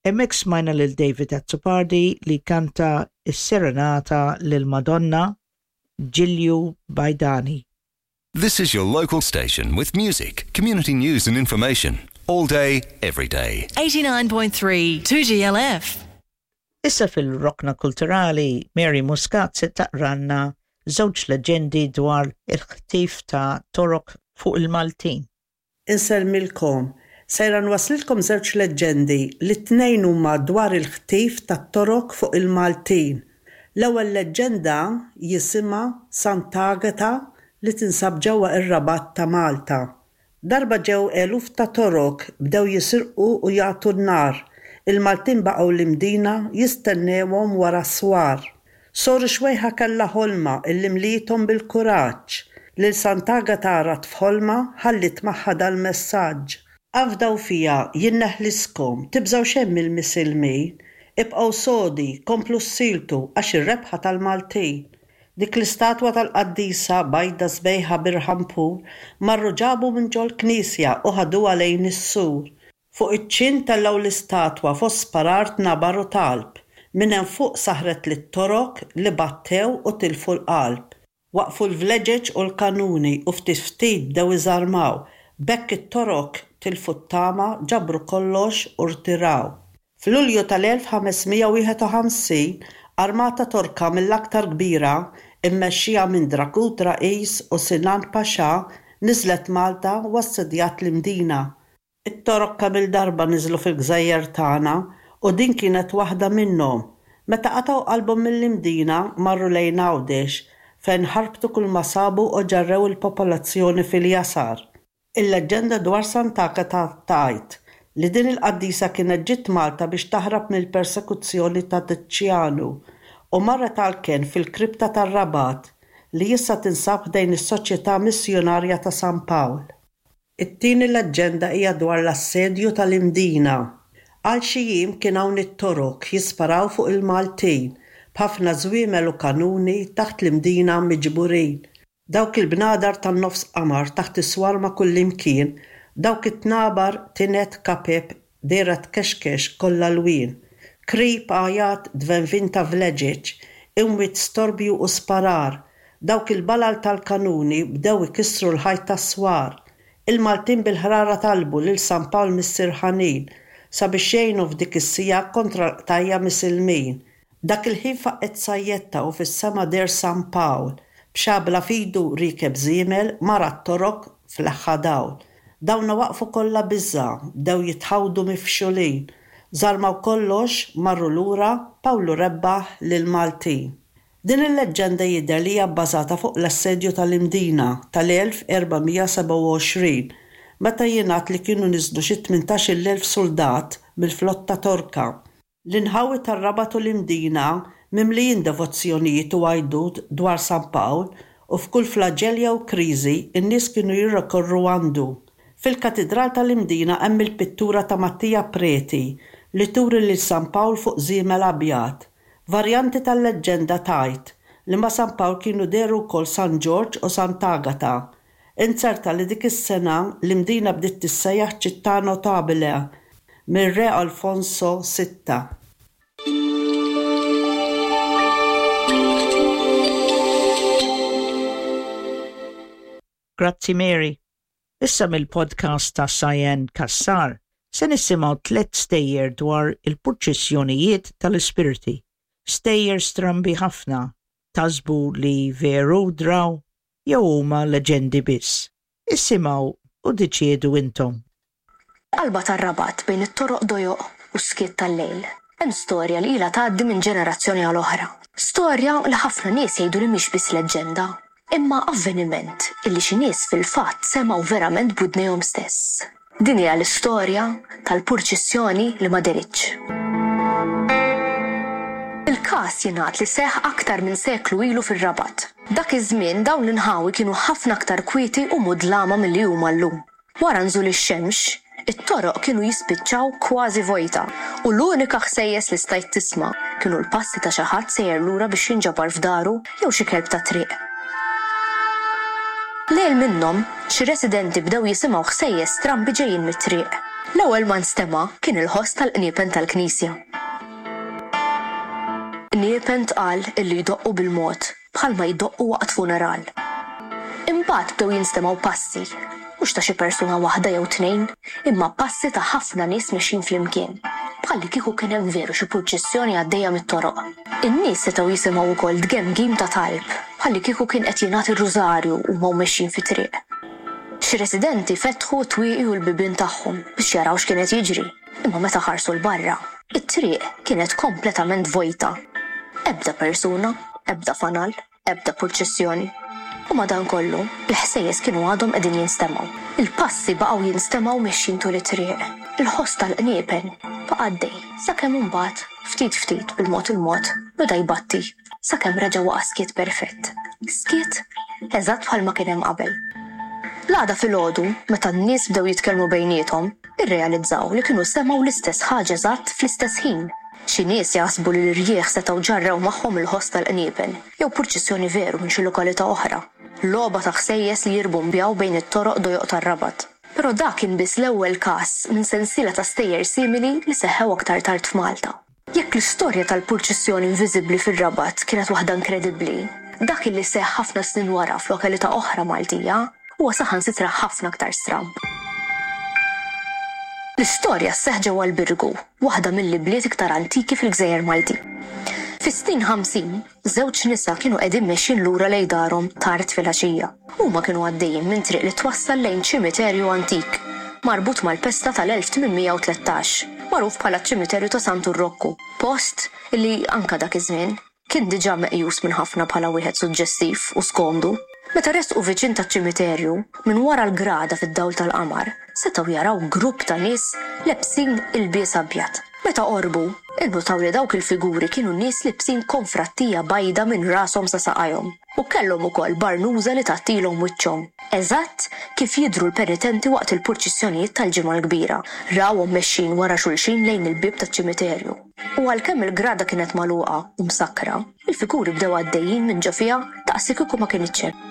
Hemmhekk smajna lil David Azzopardi li kanta s-serenata lil Madonna, Ġilju Bajdani. This is your local station with music, community news and information. All day, every day. 89.3 2GLF. Issa fil-Rokna Kulturali, Mary Muscat se taqralna żewġ leġġendi dwar il-ħtif ta' Torok fuq il-Maltin. Insellmilkom. Sejra nwasslilkom żewġ leġġendi li t-tnejn huma dwar il-ħtif tat-Torok fuq il-Maltin. L-ewwel leġġenda jisimha Sant'Agata li tinsab ġewwa ir-Rabat ta' Malta. Darba ġew eluf ta' Torok bdew jisirqu u jagħtu n-nar. Il-Maltin baqgħu l-Imdina jistennewhom wara s-swar. Soru Xwejħa kellha ħolma illi mliethom bil-kuraġġ. Lil Sant'Agata rat f'ħolma ħalliet magħha dal-messaġġ. Afdaw fija, jien neħliskom, tibżgħu xejn mill-Misilmin. Ibqgħu sodi, komplu ssieltu għax ir-rebħa tal-Maltin. Dik l-istatwa tal-qaddisa, bajda sbejħa b'irħam pur, marru ġabu minn ġol-knisja u ħaduha lejn is-sur. Fuq iċ-ċint tellgħu l-istatwa fost sparar tnabar u talb. Minn hemm fuq saħret lit-Torok li battew u tilfu l-qalb. Waqfu l-vleġeġ u l-kanuni u ftit ftit bdew iżarmaw. B'hekk it-Torok tilfu t-tama, ġabru kollox u rtiraw. F'Lulju tal-1551, armata Torka mill-aktar kbira, immexxija minn Dragut Rais u Sinan Pasha, niżlet Malta u assedjat l-Imdina. It-Torok kemm-il darba niżlu fil-gżejjer tagħna u din kienet waħda minnhom. Meta qatgħu qalbhom mill-Imdina, marru lejn Għawdex, fejn ħarbtu kulma sabu u ġarrew il-popolazzjoni fil-jasar. Il-leġġenda dwar Sant'Agata tgħid li din il-qaddisa kienet ġiet Malta biex taħrab mill-persekuzzjoni ta' Tiċjanu u marret għall-kenn fil-kripta tar-Rabat li issa tinsab ħdejn is-Soċjetà Missjunarja ta' San Pawl. It-tieni leġġenda hija dwar l-assedju tal-Imdina. Għal xi jiem kien hawn it-Torok jisparaw fuq il-Maltin b'ħafna żwiemel u kanuni taħt l-Imdina miġburin. Dawk il-bnadar tan-nofs qamar taħt is-swar ma' kullimkien, dawk it-tnabar, tined, kapep, dehra tkexkex kollha lwien. Krib, għajat, tvenvin ta' vleġeġ, imwiet storbju u sparar, dawk il-balal tal-kanuni bdew ikissru l-ħajt tas-swar. Il-Maltin bil-ħrara talbu lil San Pawl Missier Ħanin sabiex jgħinhom f'dik is-siegħa kontra l-qtajja' Misilmin. Dak il-ħin faqqgħet sajjetta u fis-sema deher San Pawl, b'xabla f'idu riekeb żiemel, mar għat-torok f'leħħa dawl. Dawna waqfu kollha biża', bdew jitħawdu mifxulin. Żarmaw kollox, marru lura, Pawlu rebbaħ lill-Maltin. Din il-leġġenda jidher li hija bbażata fuq l-assedju tal-Imdina tal-1427, meta jingħad li kienu niżlu xi 18,000 suldat mill-flotta Torka. L-inħawi tar-Rabat u l-Imdina mimlijin devozzjonijiet u għajdut dwar San Pawl u f'kull flaġell jew kriżi n-nies kienu jirrikorru għandu. Fil-Katidral tal-Imdina hemm il-pittura ta' Mattia Preti li turi lil San Pawl fuq żiemel abjad. Varjanti tal-leġġenda tgħid li ma' San Pawl kienu dehru wkoll San Ġorġ u Sant'Agata. Inzerta li dik is-sena l-Imdina bdiet tissejjaħ Città Notabile mir-Re Alfonso Sitta. Grazzi Mary. Issa mill-podcast ta' Cyan Cassar se nisimgħu tlett stejjer dwar il-purċissjonijiet tal-ispirti. Stejjer strambi ħafna, taħsbu li veru draw jew huma leġendi biss? Isimgħu u ddeċiedu intom. Fil-qalba tar-Rabat, bejn it-toroq dojoq u s-skiet tal-lejl, hemm storja li ilha tgħaddi minn ġenerazzjoni għal oħra. Storja li ħafna nies jgħidu li mhix biss leġġenda, imma avveniment illi xi nies fil-fatt semgħu verament b'widnejhom stess. Din hija l-istorja tal-purċissjoni li ma dehritx. Il-każ jingħad li seħħ aktar minn seklu ilu fir-Rabat. Dak iż-żmien dawn l-inħawi kienu ħafna aktar kwieti u mudlama milli huma llum. Wara nżul ix-xemx, it-toroq kienu jispiċċaw kważi vojta u l-unika ħsejjes li stajt tisma' kienu l-passi ta' xi ħadd sejjer lura biex jinġabar f'daru jew xi kelb tat-triq. Lejl minnhom, xi residenti bdew jisimgħu ħsejjes strambi ġejjin mit-triq. L-ewwel ma nstema' kien il-ħoss tal-qniepen tal-knisja. Qniepen tqal illi jdoqqu bil-mod bħalma jdoqqu waqt funeral. Imbagħad bdew jinstemgħu passi, mhux ta' xi persuna waħda jew tnejn, imma passi ta' ħafna nies mexjin flimkien, bħallikieku kien hemm veru xi purċissjoni għaddejja mit-toroq. In-nies setgħu jisimgħu wkoll tgemgim ta' talb, bħallikieku kien qed jingħad ir-rużarju huma u mexjin fit-triq. Xi residenti fetħu t-twieqi u l-bibien tagħhom biex jaraw x'kien qed jiġri, imma meta ħarsu 'l barra, it-triq kienet kompletament vojta. Ebda persuna, ebda fanal, ebda purċissjoni. U madankollu, il-ħsejjes kienu għadhom qegħdin jinstemgħu. Il-passi baqgħu jinstemgħu mexjin tul it-triq. Il-ħoss tal-qniepen baqa' għaddej, sakemm imbagħad, ftit ftit, bil-mod il-mod, beda jbatti. Sakemm reġa' waqa' skiet perfett. Skiet eżatt bħalma kien hemm qabel. L-għada filgħodu, meta n-nies bdew jitkellmu bejniethom, irrealizzaw li kienu semgħu l-istess ħaġa eżatt fl-istess ħin. Xi nies jaħsbu li l-irjieħ setgħu ġarrew magħhom il-ħoss tal-qniepen, jew purċissjoni veru minn xi lokalità oħra. Logħba ta' ħsejjes li jirbumbjaw bejn it-toroq dojoq tar-Rabat. Però dak kien biss l-ewwel każ minn sensiela ta' stejjer simili li seħħew aktar tard f'Malta. Jekk l-istorja tal-purċissjoni inviżibbli fir-Rabat kienet waħda inkredibbli, dak illi seħħ ħafna snin wara f'lokalità oħra Maltija huwa saħansitra ħafna aktar stramb. L-istorja sseħħ ġewwa l-Birgu, waħda mill-ibliet iktar antiki fil-gżejjer Maltin. Fis-snin 50, Żewġ nisa kienu qegħdin mexjin lura lejn darhom tard filgħaxija. Huma kienu għaddejjin minn triq li twassal lejn ċimiterju antik, marbut mal-pesta tal-1813, magħruf bħala ċ-ċimiterju ta' Santu Rokku, post li, anke dak iż-żmien, kien diġà meqjus minn ħafna bħala wieħed suġġestiv u skomdu. Meta resqu viċin taċ-ċimiterju, minn wara l-grada fid-dawl tal-qamar, setgħu jaraw grupp ta' nies lebsin ilbies abjad. Meta qorbu, innutaw li dawk il-figuri kienu nies libsin konfrattija bajda minn rashom sa saqajhom u kellhom ukoll barnuża li tgħattilhom wiċċhom, eżatt kif jidhru l-penitenti waqt il-purċissjonijiet tal-Ġimgħa l-Kbira. Rawhom mexjin wara xulxin lejn il-bieb taċ-ċimiterju. U għalkemm il-grada kienet magħluqa u msakkra, il-figuri bdew għaddejjin minn ġo fiha daqslikieku ma kinitx hemm.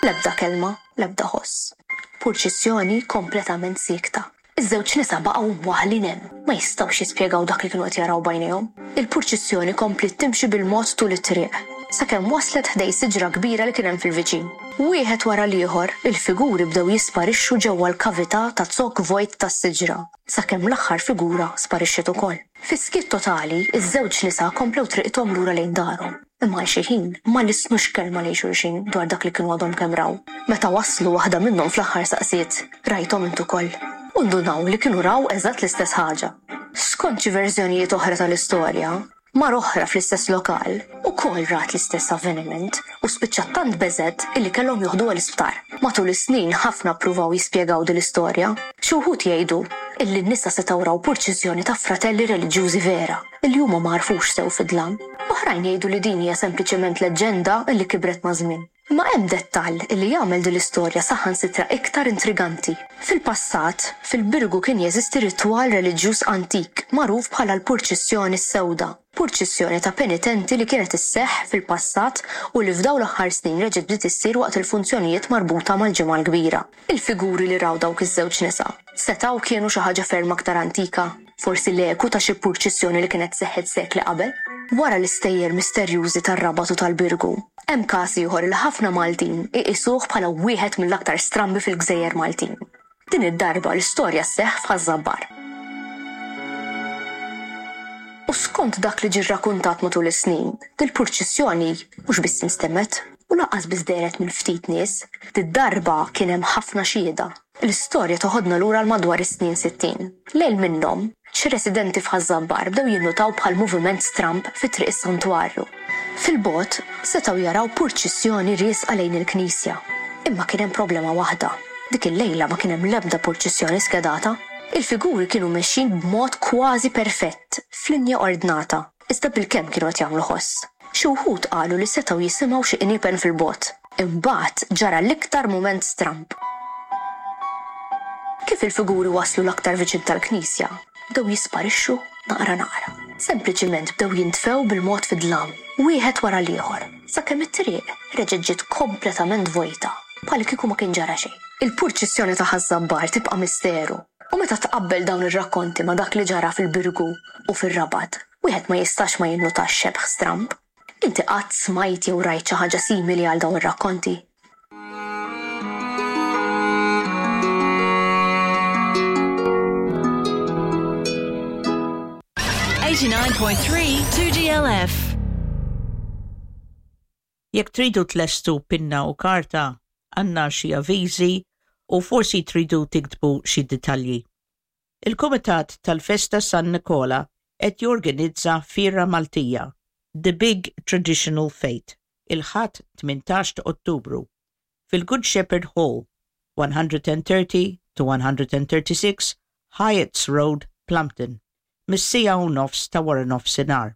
L-ebda kelma, l-ebda ħoss. Purċissjoni kompletament siekta. Iż-żewġ nisa baqgħu mwaħħlin hemm, ma jistgħux jispjegaw dak li kienu qed jaraw b'għajnejhom. Il-purċissjoni kompliet timxi bil-mod tul it-triq, sakemm waslet ħdejn siġra kbira li kien hemm fil-viċin. Wieħed wara l-ieħor, il-figuri bdew jisparixxu ġewwa l-kavità ta' zokk vojt tas-siġra, sakemm l-aħħar figura sparixxiet ukoll. Fis-skiet totali, iż-żewġ nisa komplew triqithom lura lejn darhom. Imma għal xi ħin, ma lissnux kelma lejn xulxin dwar dak li kienu għadhom kemm raw. Meta waslu, waħda minnhom fl-aħħar saqsiet, Rajthom int ukoll? U ndunaw li kienu raw eżatt l-istess ħaġa. Skont xi verżjonijiet oħra tal-istorja, mara oħra fl-istess lokal ukoll rat l-istess avveniment u spiċċat tant beżgħet illi kellhom joħduha l-isptar. Matul is-snin ħafna ppruvaw jispjegaw din l-istorja. Xi wħud jgħidu illi n-nisa setgħu raw purċissjoni ta' fratelli reliġjużi vera. li huma ma għarfux sew fid-dlam. Oħrajn jgħidu li din hija sempliċement leġġenda li kibret maż-żmien. Imma hemm dettall li jagħmel din l-istorja saħansitra iktar intriganti. Fil-passat, fil-Birgu kien jeżisti ritwal reliġjuż antik magħruf bħala l-Purċissjoni s-Sewda, purċissjoni ta' penitenti li kienet isseħħ fil-passat u li f'dawn l-aħħar snin reġgħet bdiet issir waqt il-funzjonijiet marbuta mal-Ġimgħa l-Kbira. Il-figuri li raw dawk iż-żewġ nisa setgħu kienu xi ħaġa ferm aktar antika. Forsi l-eku ta' xi purċissjoni li kienet seħħet sekli qabel? Wara l-istejjer misterjużi tar-Rabat u tal-Birgu, hemm każ ieħor li ħafna Maltin iqisuh bħala wieħed mill-aktar strambi fil-gżejjer Maltin. Din id-darba l-istorja sseħħ f'Ħaż-Żabbar. U skont dak li ġie rrakuntat matul is-snin, dil-purċissjoni mhux biss instemgħet u lanqas biss dehret minn ftit nies, did-darba kien hemm ħafna xhieda. L-istorja toħodna lura għal madwar is-snin 60. Lejl minnhom, xi residenti f'Ħaż-Żabbar bdew jinnutaw bħal moviment stramb fi Triq is-Santwarju. Fil-bogħod, setgħu jaraw purċissjoni riesqa lejn il-knisja. Imma kien hemm problema waħda, dik il-lejla ma kien hemm l-ebda purċissjoni skedata. Il-figuri kienu mexjin b'mod kważi perfett, f'linja ordnata, iżda bilkemm kienu qed jagħmlu ħoss. Xi wħud qalu li setgħu jisimgħu xi qniepen fil-bogħod. Imbagħad ġara l-iktar mument stramb. Kif il-figuri waslu l-aktar viċin tal-knisja, bdew jisparixxu naqra naqra. Sempliċiment bdew jintfew bil-mod fid-dlam, wieħed wara l-ieħor, sakemm it-triq reġgħet ġiet kompletament vojta, bħallikieku ma kien ġara xejn. Il-purċissjoni ta' Ħaż-Żabbar tibqa' misteru. U meta tqabbel dawn ir-rakkonti ma' dak li ġara fil-Birgu u fir-Rabat, wieħed ma jistax ma jinnutax xebh stramb. Inti qatt smajt jew rajt xi ħaġa simili għal dawn ir-rakkonti? 89.3 2GLF. Jekk tridu tlestu pinna u karta, għandna xi avviżi u forsi tridu tiktbu xi dettalji. Il-Kumitat tal-Festa San Nikola qed jorganizza Fiera Maltija, The Big Traditional Fete, il-Ħadd 18 ta' Ottubru, fil-Good Shepherd Hall, 130 to 136 Hyatt's Road, Plumpton, mis-siegħa u nofs ta' waranofsinhar.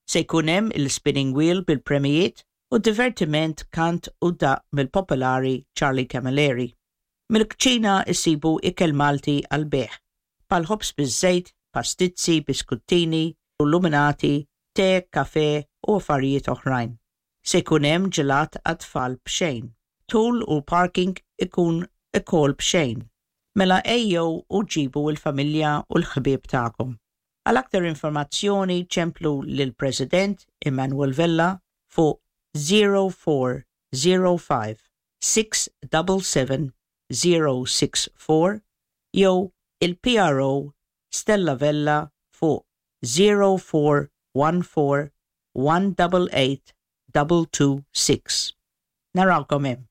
Se jkun hemm il-spinning wheel bil-premijiet u divertiment kant u daqq mill-popolari Charlie Camilleri. Mill-kċina issibu ikel Malti għall-bejgħ, bħal ħobż biż-żejt, pastizzi, biskuttini, luminati, te, kafè u affarijiet oħrajn. Se jkun hemm ġelat għat-tfal b'xejn. Dħul u parking ikun ukoll b'xejn. Mela ejjew u ġibu l-familja u l-ħbieb tagħkom. Għal aktar informazzjoni ċemplu lill-President Emmanuel Vella fuq 0405 677 064 jew il-PRO Stella Vella fuq 0414 188 226. Narawkom hemm.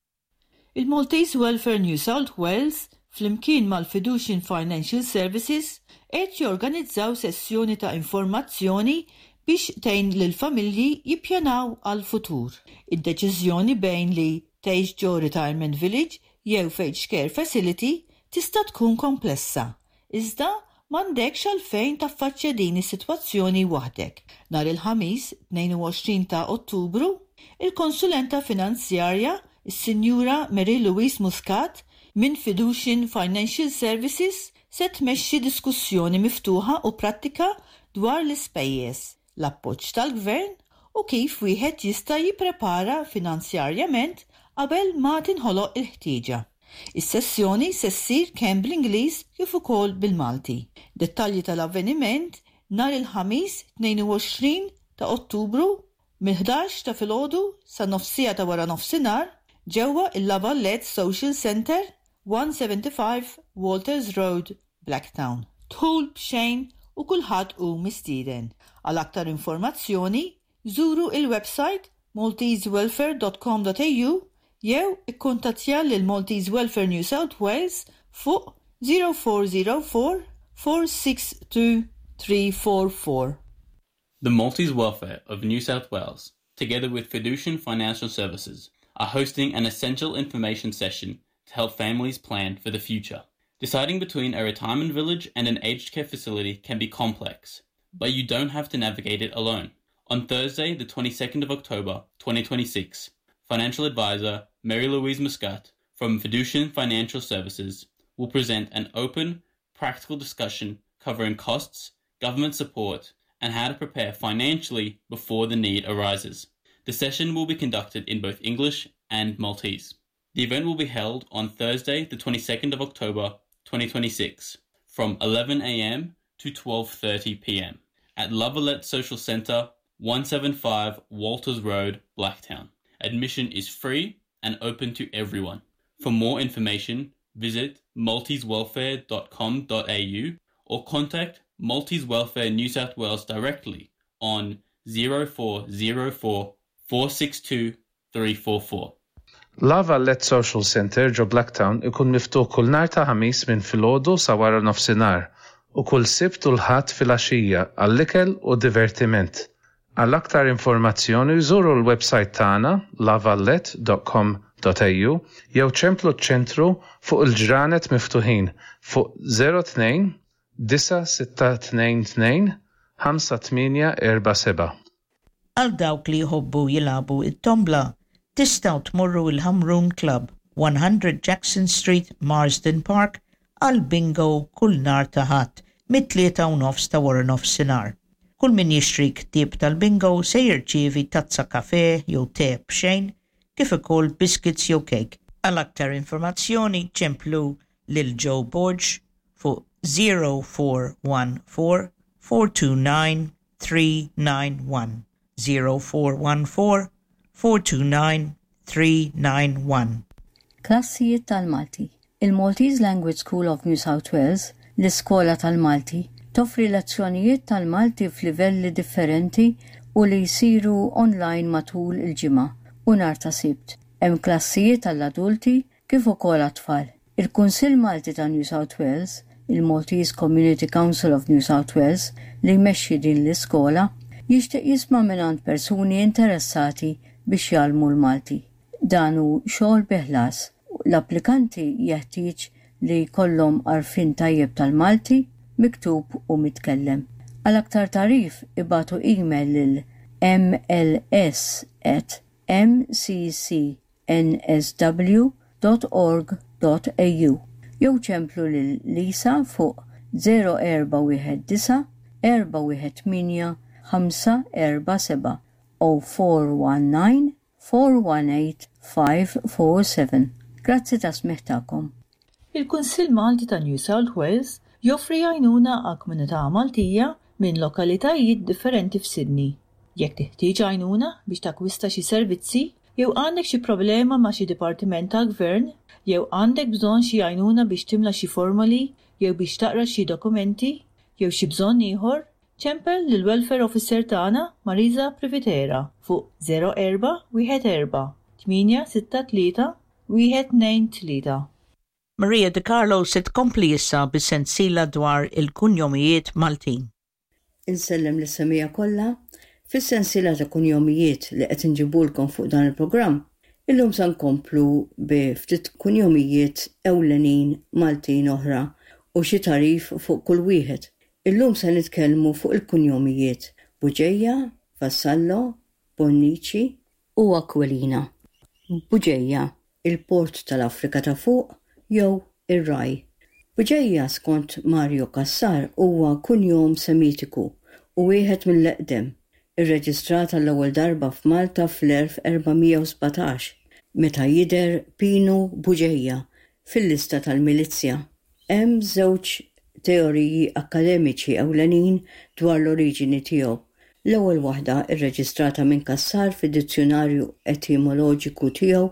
Il-Maltese Welfare New South Wales flimkien mal-Fiducian Financial Services qed jorganizzaw sessjoni ta' informazzjoni biex tgħin lill-familji jippjanaw għall-futur. Id-deċiżjoni bejn li tgħix ġo retirement village jew f'aged care facility tista' tkun komplessa, iżda m'għandekx għalfejn taffaċċja din is-sitwazzjoni waħdek. Nhar il-Ħamis 22 ta' Ottubru, il-konsulenta finanzjarja, is-Sinjura Marie Louise Muscat minn Fiducian Financial Services se tmexxi diskussjoni miftuħa u prattika dwar l-ispejjeż, l-appoġġ tal-gvern u kif wieħed jista' jipprepara finanzjarjament qabel ma tinħoloq il-ħtieġa. Is-sessjoni se ssir kemm bl-Ingliż kif ukoll bil-Malti. Dettalji tal-avveniment nhar il-Ħamis 22 ta' Ottubru mill-11 ta' filgħodu sa nofs siegħa ta' waranofsinhar ġewwa il-La Valette Social Centre, 175 Walters Road, Blacktown. Dħul b'xejn u kulħadd hu mistieden. Għal aktar informazzjoni, żuru il-website maltesewelfare.com.au jew ikkuntattja lil Maltese Welfare New South Wales fuq 0404 462 344. The Maltese Welfare of New South Wales, together with Fiducian Financial Services, are hosting an essential information session to help families plan for the future. Deciding between a retirement village and an aged care facility can be complex, but you don't have to navigate it alone. On Thursday, the 22nd of October, 2026, financial advisor Mary Louise Muscat from Fiducian Financial Services will present an open, practical discussion covering costs, government support, and how to prepare financially before the need arises. The session will be conducted in both English and Maltese. The event will be held on Thursday, the 22nd of October, 2026, from 11 a.m. to 12:30 p.m. at Lavalette Social Centre, 175 Walters Road, Blacktown. Admission is free and open to everyone. For more information, visit maltesewelfare.com.au or contact Maltese Welfare New South Wales directly on 0404 462 344. La Valette Social Centre ġo Blacktown ikun miftuħ kull nhar ta' Ħamis minn filgħodu sa wara nofsinhar u kull Sibt u l-Ħadd filgħaxija għall-ikel u divertiment. Għal aktar informazzjoni żuru l-websajt tagħna lavallette.com.au jew ċemplu ċ-ċentru fuq il-ġranet miftuħin fuq 02 9622 5847. Għal dawk li jħobbu jilagħbu it-tombla, tistgħu tmorru il-Ħamrun Club, 100 Jackson Street, Marsden Park, għal bingo kull nhar ta' Ħadd mit-3:30 ta' wara nofsinhar. Kull min jixtri ktieb tal-bingo se jirċievi tazza kafè jew te b'xejn, kif ukoll biscuits jew cake. Għal aktar informazzjoni ċemplu lil Joe Borg fuq 0414 429 391. 0414 429 391. Klassijiet tal-Malti. Il-Maltese Language School of New South Wales, l-Iskola tal-Malti, toffri lezzjonijiet tal-Malti f'livelli differenti u li jsiru online matul il-ġimgħa u nhar ta' Sibt. Hemm klassijiet għall-adulti kif ukoll għat-tfal. Il-Kunsill Malti ta' New South Wales, il-Maltese Community Council of New South Wales, li jmexxi din l-iskola, jixtieq jisma' mingħand persuni interessati biex jgħallmu l-Malti. Dan hu xogħol bi ħlas. L-applikanti jeħtieġ li jkollhom għarfien tajjeb tal-Malti, miktub u mitkellem. Għal aktar tagħrif ibagħtu email lil mls at mcc nsw dot org dot au jew ċemplu lil Lisa fuq 0419 418 547 0419 418 547. Grazzi tas-smigħ tagħkom. Il-Kunsill Malti ta' New South Wales joffri għajnuna għall-komunità Maltija minn lokalitajiet differenti f'Sydney. Jekk teħtieġ għajnuna biex takkwista xi servizzi, jew għandek xi problema ma' xi dipartiment tal-gvern, jew għandek bżonn xi għajnuna biex timla xi formoli jew biex taqra xi dokumenti, jew xi bżonn ieħor, ċempel lill-Welfare Officer tagħna Marisa Privitera fuq 04 14 863 123. Maria De Carlo se tkompli issa bis-sensiela dwar il-kunjomijiet Maltin. Insellem lis-semmiegħa kollha. Fis-sensiela ta' kunjomijiet li qed inġibulkom fuq dan il-programm, illum sa nkomplu bi ftit kunjomijiet ewlenin Maltin oħra u xi tagħrif fuq kull wieħed. Illum se nitkellmu fuq il-kunjomijiet Bugeja, Vassallo, Bonnici u Aquilina. Buġeja, il-port tal-Afrika ta' Fuq jew ir-Raj. Buġeja skont Mario Cassar huwa kunjom Semitiku u wieħed mill-eqdem, irreġistrat għall-ewwel darba f'Malta fl-1417 meta jidher Pinu Buġeja fil-lista tal-milizzja. Hemm żewġ teoriji akkademiċi ewlenin dwar l-oriġini tiegħu. L-ewwel waħda, irreġistrata minn Cassar fid-dizzjunarju etimoloġiku tiegħu,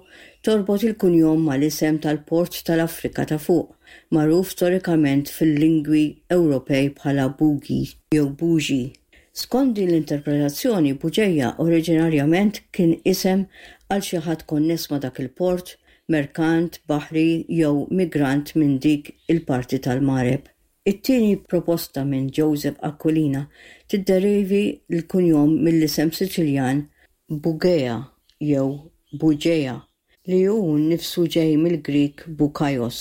torbot il-kunjom mal-isem tal-port tal-Afrika ta' Fuq, magħruf storikament fil-lingwi Ewropej bħala Bugi jew Bugi. Skont din l-interpretazzjoni, Buġeja oriġinarjament kien isem għal xi ħadd konness ma' dak il-port, merkant, baħri jew migrant minn dik il-parti tal-Magħreb. It-tieni proposta minn Joseph Aquilina tidderivi l-kunjom mill-isem Siċiljan Bugea jew Buġea, li hu nnifsu ġej mill-Grieg bukaios,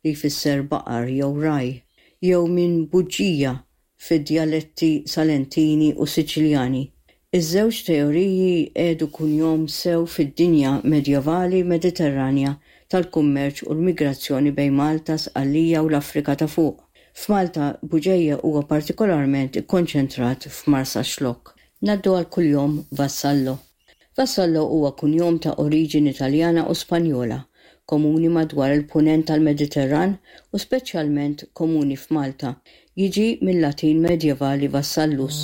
li jfisser baqar jew ragħaj, jew minn buġija fid-djaletti Salentini u Siċiljani. Iż-żewġ teoriji jqiegħdu kunjom sew fid-dinja medjevali Mediterranja tal-kummerċ u l-migrazzjoni bejn Malta, Sqallija u l-Afrika ta' Fuq. F'Malta, Buġeja huwa partikolarment ikkonċentrat f'Marsaxlokk. Ngħaddu għall-kunjom Vassallo. Vassallo huwa kunjom ta' oriġini Taljana u Spanjola, komuni madwar il-Punent tal-Mediterran u speċjalment komuni f'Malta. Jiġi mil-Latin medjevali vassallus,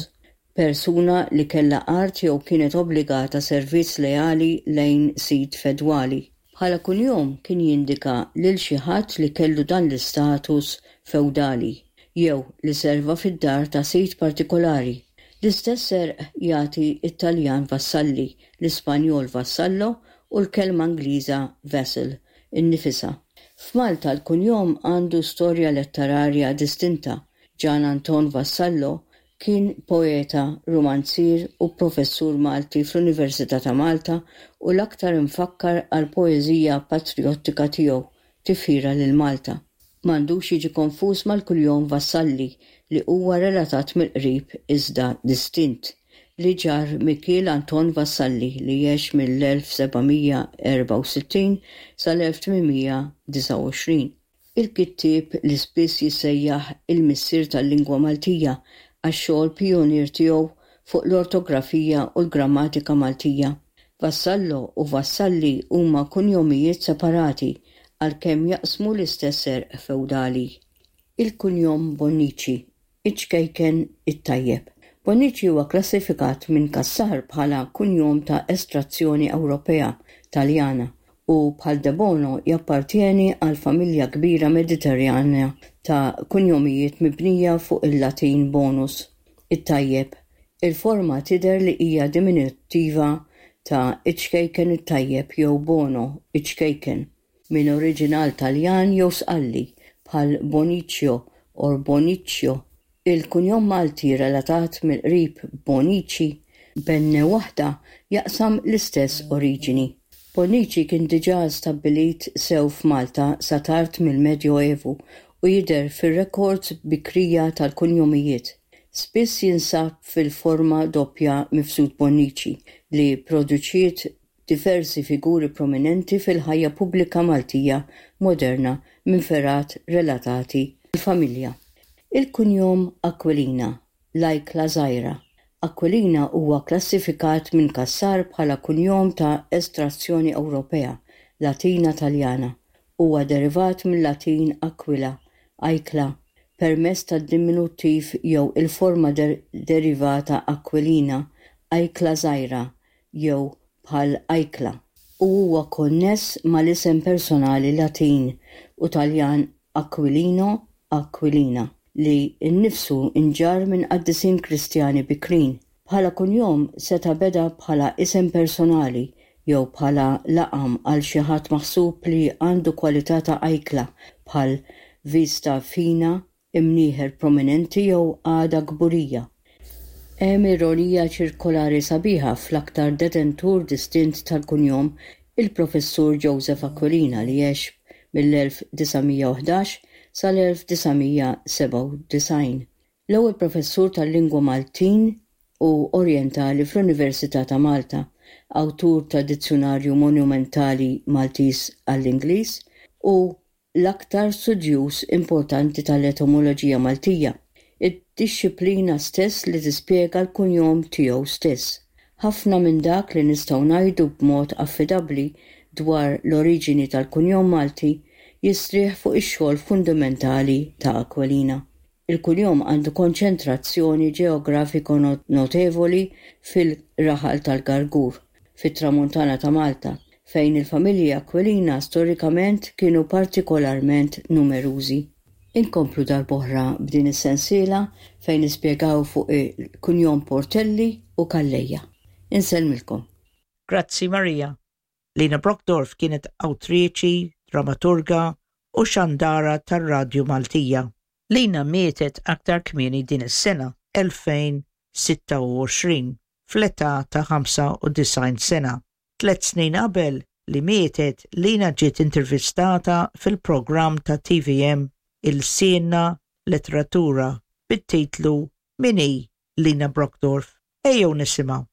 persuna li kellha art jew kienet obbligata servizz leali lejn sid fedwali. Bħala kunjom kien jindika lil xi ħadd li kellu dan l-istatus fewdali, jew li serva fid-dar ta' sid partikolari. L-istess għerq jagħti t-Taljan vassalli, l-Ispanjol vassallo u l-kelma Ingliża vassal innifisha. F'Malta l-kunjom għandu storja letterarja distinta. Ġan Anton Vassallo Kien poeta, rumanzier u professur Malti fl-Università ta' Malta u l-aktar imfakkar għall-poeżija patrijottika tiegħu, Tifħira lil Malta. M'għandux jiġi konfuż mal-kuljom Vassalli li huwa relatat mill-qrib iżda distint, li ġarr Mikiel Anton Vassalli li għex mill-1764 sal-1829. Il-kittieb li spiss jissejjaħ il-missier tal-lingwa Maltija għax-xogħol pijunier tiegħu fuq l-ortografija u l-grammatika Maltija. Vassallo u Vassalli huma kunjomijiet separati għalkemm jaqsmu l-istess għerq fewdali. Il-kunjom Bonnici, iċ-ċkejken it-tajjeb. Bonnici huwa kklassifikat minn Cassar bħala kunjom ta' estrazzjoni Ewropea, Taljana, u bħal Debono jappartjeni għal familja kbira Mediterranja ta' kunjomijiet mibnija fuq il-Latin bonus, it-tajjeb. Il-forma tidher li hija diminuttiva ta' iċ-ċkejken it-tajjeb jew bono, iċ-ċkejken, minn oriġinal Taljan jew Sqalli, bħal Bonicio or Boniccio. Il-kunjom Malti relatat mill-qrib Bonici, b'N waħda, jaqsam l-istess oriġini. Bonnici kien diġà stabbilit sew f'Malta sa tard mill-Medjoevu u jidher fir-rekords bikrija tal-kunjomijiet. Spiss jinsab fil-forma doppja Mifsud Bonnici li pproduċiet diversi figuri prominenti fil-ħajja pubblika Maltija moderna minn fergħat relatati mal-familja. Il-kunjom Aquilina l-ajkla żgħira. Aquilina huwa kklassifikat minn Cassar bħala kunjom ta' estrazzjoni Ewropea, Latina Taljana. Huwa derivat mil-Latin aquila, ajkla, permezz tad-diminuttiv jew il-forma derivata Aquilina, ajkla żgħira jew bħal ajkla, u huwa konness mal-isem personali Latin u Taljan Aquilino, Aquilina, li nnifsu nġarr minn qaddisin Kristjani bikrin. Bħala kunjom seta' beda bħala isem personali jew bħala laqam għal xi ħadd maħsub li għandu kwalità ta' ajkla bħal vista fina, imnieħer prominenti jew qagħda kburija. Hemm ironija ċirkolari sabiħa fl-aktar detentur distint tal-kunjom, il-Professur Joseph Aquilina li għex mill-1911 sal-1997, l-ewwel professur tal-lingwa Maltin u Orjentali fl-Università ta' Malta, awtur ta' dizzjunarju monumentali Maltiż għall-Ingliż u l-aktar studjuż importanti tal-etimoloġija Maltija, id-dixxiplina stess li tispjega l-kunjom tiegħu stess. Ħafna minn dak li nistgħu ngħidu b'mod affidabbli dwar l-oriġini tal-kunjom Malti jistrieħ fuq ix-xogħol fundamentali ta' Aquilina. Il-kunjom għandu konċentrazzjoni ġeografiko notevoli fil-raħal tal-Gargur, fit-Tramuntana ta' Malta, fejn il-familji Aquilina storikament kienu partikolarment numerużi. Inkomplu darb'oħra b'din is-sensiela fejn nispjegaw fuq il-kunjom Portelli u Calleja. Insellmilkom. Grazzi Maria. Lina Brockdorff kienet awtriċi, dramaturga u xandara tar-radju Maltija. Lina mietet aktar kmieni din is-sena, 2026, fl-età ta' 95 sena. Tlett snin qabel li mietet, Lina ġiet intervistata fil-programm ta' tvm Ilsienna Letteratura bit-titlu Min hi Lina Brockdorff? Ejjew nisimgħu.